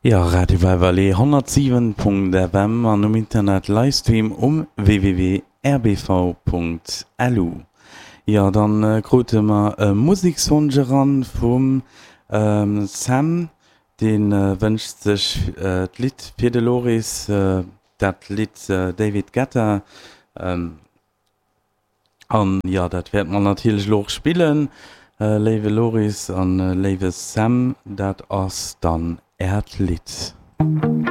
Jo, Radio Valvalé 107.fm an um Internet Livestream um www.rbv.lu. Jo, dann krute mer e Musekswonsch eran vum Sam, dee wënscht sech d'Lidd fir de Loris, dat Lidd David Guetta. An jo, dat wäerte mer natierlech elo och spillen, léiwe Loris an léiwe Sam, dat ass dann äert Lidd.